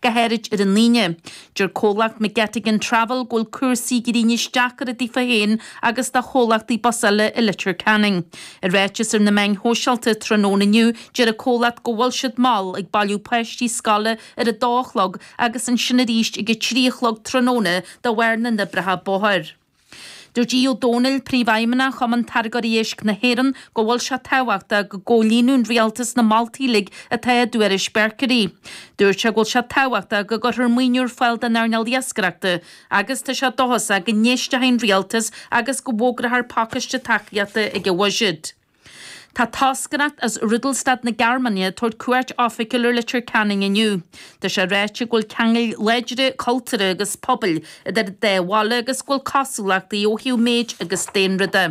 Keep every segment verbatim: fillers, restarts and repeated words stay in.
go háirid ar an Aoine. Deir comhlacht McGettigan Travel go bhfuil cúrsaí gréine deacair daofa féin agus do chomhlachtaí bus eile i Leitir Ceanainn. I ráiteas ar na meáin shóisialta tráthnóna inniu deir an comhlacht go bhfuil siad mall ag bailiú páistí scoile ar a dó a chlog agus ansin arís ag a trí a chlog tráthnóna de bharr na n-oibreacha bóthair. Dúirt Aodh Ó Domhnaill príomhfheidhmeannach Chumann Táirgeoirí Éisc na hÉireann go bhfuil sé tábhachtach go gcomhlíonann an rialtas na moltaí uilig atá i dtuairisc Berkery. Dúirt sé go bhfuil sé tábhachtach go gcuirfear maoiniú ar fáil don earnáil iascaireachta agus tá sé dóchasach go n-éistfidh an rialtas agus go bhfógrófar pacáiste tacaíochta ag an bhuiséad. Tá toscaireacht as Rudolstadt na Gearmáine tabhairt cuairt oifigiúil ar Leitir Ceanainn inniu. Tá sé ráite go bhfuil ceangail láidre cultúrtha agus pobail idir an dá bhaile agus go bhfuil cosúlachtaí ó thaobh méid agus daonra de.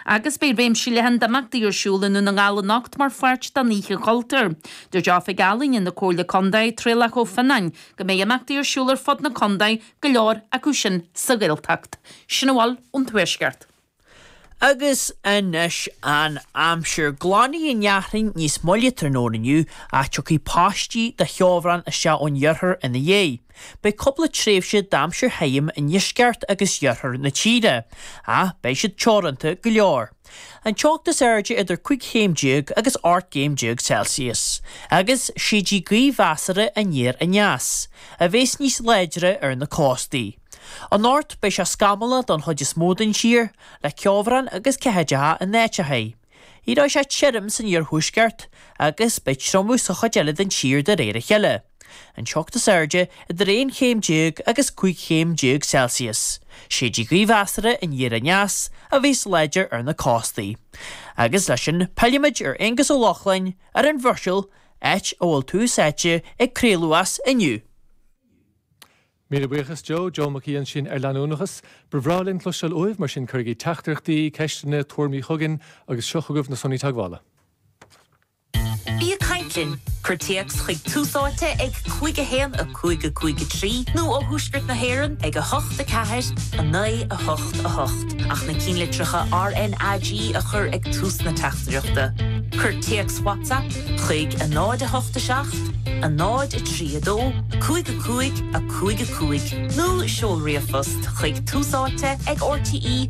Agus beidh réimse leathan d'imeachtaí ar siúl i nDún na nGall anocht mar pháirt den Oíche Chultúir. Dúirt Oifigeach Ealaíne na Comhairle Contae Traolach Ó Fionnáin go mbeidh imeachtaí ar siúl ar fud na contae go leor acu sin sa Ghaeltacht. Sin a bhfuil ón tuaisceart. Agus anois an aimsir glanfaidh an fhearthainn níos moille tráthnóna inniu ach tiocfaidh paistí de cheobhrán isteach ón iarthar ina dhiaidh. Beidh cúpla tréimhse d'aimsir thirim i ndeisceart agus iarthar na tíre, ach beidh siad teoranta go leor. An teocht is airde idir cúig chéim déag agus ocht gcéim déag Celsius, agus séidfidh gaoth mheasartha aniar aneas, a bheas níos láidre ar na cóstaí. Anocht beidh sé scamallach don chuid is mó den tír, le ceobhrán agus ceathaideacha in áiteacha. Éireoidh sé tirim san iarthuaisceart agus beidh triomú sa chuid eile den tír de réir a chéile. An teocht is airde idir aon chéim déag agus cúig chéim déag Celsius. Séidfidh gaoth mheasartha aniar aneas a bheas láidir ar na cóstaí. Agus leis sin pillfimid ar Aonghus Ó Lochlainn ar an Bhruiséil, áit a bhfuil Tús Áite ag craoladh as inniu. Míle buíochas Joe, Joe Mac Aoidh ansin ar leanúnachas, Ba bhreá linn cloisteáil uaibh mar sin cuirigí teachtaireachtaí, ceisteanna, tuairimí chugainn agus seo chugaibh na sonraí teagmhála. Bí ag caint linn, cuir téacs chuig Tús Áite ag cúig a haon a cúig a cúig a trí nó ó thuaisceart na hÉireann ag a hocht a ceathair a naoi a hocht a hocht ach na cinnlitreacha RNAG a chur ag tús na teachtaireachta. Cuir téacs WhatsApp chuig a náid a hocht a seacht, a náid a trí a dó, cúig a cúig a cúig a cúig nó seol ríomhphost chuig túsáite ag RTE.ie.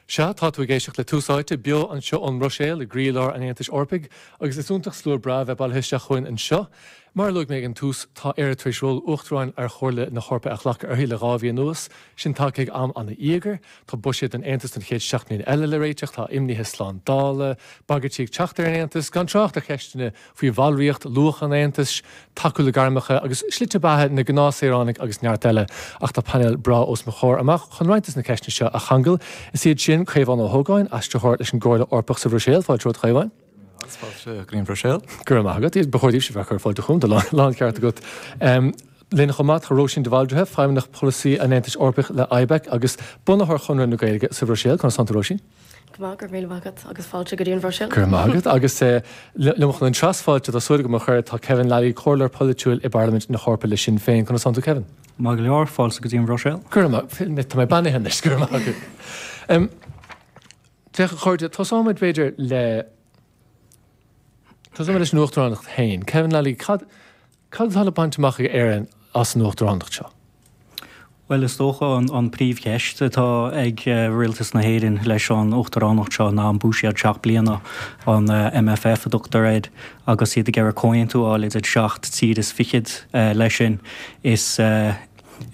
Sea tá tú ag éisteacht le Tús Áite beo anseo ón mBruiséil i gcroílár an Aontais Eorpaigh agus is iontach slua breá bheith bailithe isteach chugainn anseo. Mar a luaigh mé ag an tús tá Éire tar éis ról uachtaráin ar Chomhairle na hEorpa a ghlacadh uirthi le dhá mhí anuas, sin tagtha ag am an-íogair, Tá buiséad an Aontais don chéad seacht mbliana eile le réiteach, tá imnithe slándála, bagairtí ag teacht ar an Aontas, gan trácht ar cheisteanna faoi bhallraíocht, luach an Aontais, tacú le gairmeacha agus slite beatha na ngnáthshaoránach agus neart eile. Ach tá painéal breá os mo chomhair amach chun roinnt de na ceisteanna seo a cheangal. Is iad sin Caomhán Ó hÓgáin, aistritheoir leis an gComhairle Eorpach sa Bhruiséil, fáilte romhat a Chaomháin. Fáilte go dtí an Bhruiséil. Go raibh maith agat, ba chóir daoibhse bheith ag cur fáilte chugam, láncheart agat. Um, Linn chomh maith tá Róisín de Bhaldraithe, Feidhmeannach Polasaí an Aontais Eorpaigh le IBEC agus bunaitheoir Chonradh na Gaeilge sa Bhruiséil, conas tánn tú Róisín? Go maith go raibh míle maith agat agus fáilte go dtí an Bhruiséil. Go raibh maith agat agus liom chun an trasfháilte tá súil agam a chur tá Kevin Lally, comhairleoir polaitiúil i bParlaimint na hEorpa le Sinn Féin, conas tánn tú Kevin? Maith go leor fáilte go dtí an Bhruiséil. Go raibh maith tá mé beannaithe anois go raibh maith agat. Um, Féach a chairde, tosóimid b'fhéidir le Tosóimid leis an uachtaránacht féin. Kevin Lally, cad cad atá le baint amach ag Éirinn as an uachtaránacht seo? Well is dócha an, an príomhcheist atá ag uh, rialtas na hÉireann leis an uachtaránacht seo ná an buiséad seacht bliana an uh, MFF a dtugtar air agus iad ag iarraidh comhaontú a fháil idir seacht tír is fichead uh, leis sin is uh,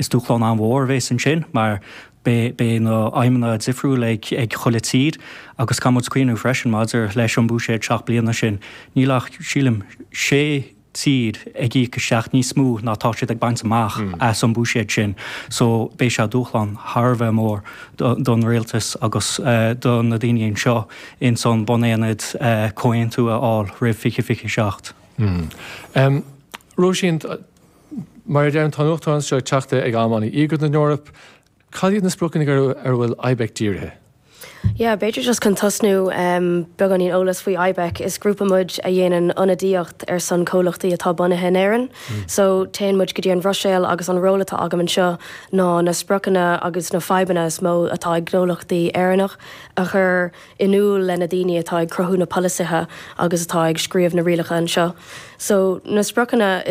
is dúshlán an-mhór a bheas ansin mar beidh na haidhmeanna difriúil ag ag chuile tír agus caithfidh muid cuimhneamh freisin maidir leis an buiséad seacht bliana sin níl ach sílim sé tír ag íoc isteach níos mó ná tá siad ag baint amach as an buiséad sin, so beidh sé dúshlán thar a bheith mór don rialtas agus uh, do na daoine anseo in san bunaonad uh, comhaontú a fháil roimh fiche fiche seacht. Mm. Um, Róisín, mar a deirim tá an uachtaránacht seo ag teacht ag am an-íogair don Eoraip, cad iad na spriocanna ar ar bhfuil IBEC dírithe? Yeah, b'fhéidir just chun tosnú um, beagáinín eolas faoi IBEC is grúpa muid a dhéanann ionadaíocht ar son comhlachtaí atá bunaithe in Éirinn. Mm. So téann muid go dtí an Bhruiséil agus an ról atá agam anseo ná na spriocanna agus na fadhbanna is mó atá ag gnólachtaí Éireannach a chur in iúl le na daoine atá ag cruthú na polasaithe agus atá ag scríobh na rialacha anseo. So na spriocanna